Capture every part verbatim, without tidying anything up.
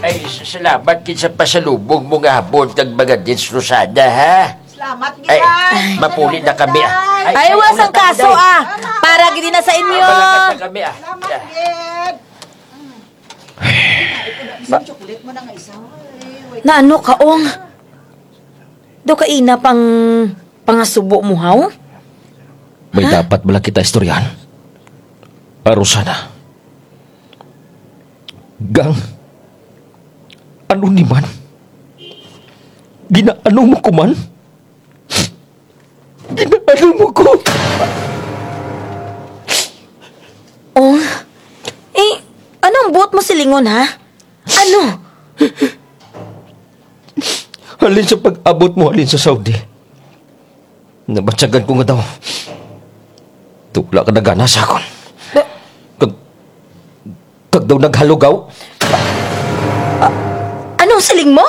Ay, s-, salamat gid sa pasalubong mo nga abot kag mga dates, Rosana, ha? Salamat gid, ay, Dad. Mapuli na kami, ah. Ay, ay, wara sang kaso, ah. Para gid na sa inyo. Salamat gid. Isang chocolate mo na nga isa. Naano ka, Ong? Daw kaina pang pangasubo mo, haw? May dapat bala kita istoryahan. Ah, Rosana. Gang, ano ni man? Ginaano mo ko man? Ginaano mo ko? Ong, eh, ano ang buot mo silingon, ha? Ano? Halin sa pag-abot mo halin sa Saudi, nabatyagan ko nga daw dula ka na gana sa akon. Ba- Kag, kag daw naghalugaw. A-, ano ang siling mo?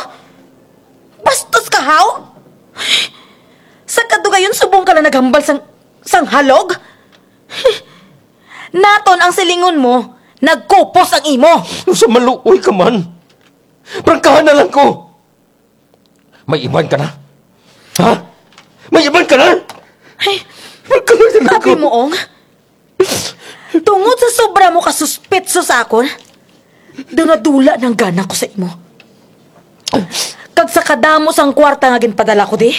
Bastos ka, haw? Sa kadugayon, subong ka lang naghambal sang, sang halog? Naton ang silingon mo, nagkupos ang imo. Sa maluoy ka man. Prangkahan na lang ko. May iban ka na? Ha? May iban ka na? Ay, prangkahan na lang ko. Abi mo, Ong? Tungod sa sobra mo ka suspetso sa akon, daw nadula na ang gana ko sa imo. Kag sa kadamo sang kwarta nga ginpadala ko di,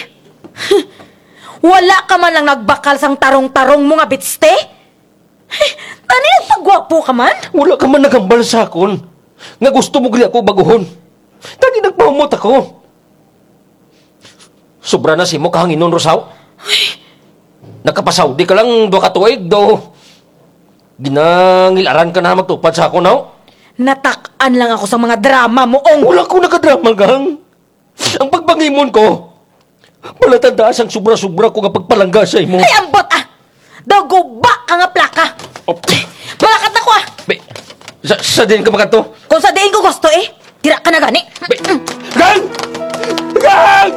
wala ka man lang nagbakal sang tarong-tarong mo nga bitste? Tani nagpagwapo ka man? Wala ka man naghambal sa akon nga gusto mo gani ako baguhon. Tani nagpahumot ako. Sobra na sa imo kahanginon, Rosaw. Ay. Nakapasaudi ka lang dwa ka tuig, daw ginangil-aran ka na magtupad sa akon, haw? Natak-an lang ako sa mga drama mo, Ong. Wala ko nagadrama, Gang. Ang pagpangimon ko, palatandaan sang sobra-sobra ko nga pagpalangga sa imo. Ay, ambot, ah! Daw guba ka nga plaka. Oh. Malakat na ko, ah! Be, sa, sa diin ka makadto? Kung sa diin ko gusto, eh. Dira ka na gani. Be, Gang! Gang!